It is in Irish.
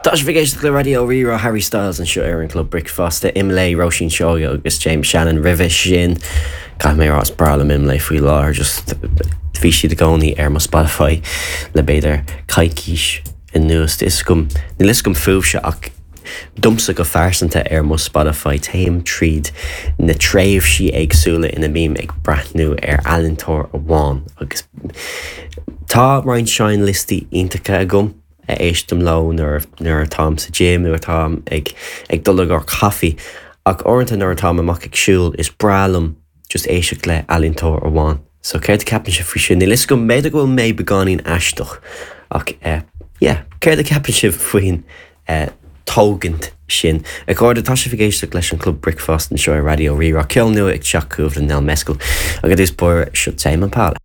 Tá sibh ag éisteacht le Raidió Rí-Rá, Harry Styles anseo ar an Club Bricfeasta, Imlé, Róisín Seoighe agus James Shannon roimhe sin. Caithfidh mé a rá is breá liom Imlé faoi láthair, just bhí siad i gcónaí ar mo Spotify le b'fhéidir coicís anuas. Is agam, níl fhios agam fúibhse ach domsa go phearsanta ar mo Spotify téim tríd na tréimhsí éagsúla ina mbím ag breathnú ar ealaíontóir amháin agus tá roinnt seinnliostaí iontacha agam. a éistim leo nuair nuair atáim sa gym nó atáim ag ag dul i gcomhair caife ach uaireanta nuair atáim amach ag siúl is breá liom just éisteacht le ealaíontóir amháin. So céard a ceapann sibh faoi sin? Níl fhios agam, b'fhéidir go bhfuil mé beagáinín aisteach ach eh yeah, céard a ceapann sibh faoin eh tógaint sin? A chairde, tá sibh ag éisteacht leis an Club Bricfeasta anseo ar Raidió Rí-Rá, ceol nua ag teacht chugaibh le Nell Mescal agus i dtús báire seo Tame Impala.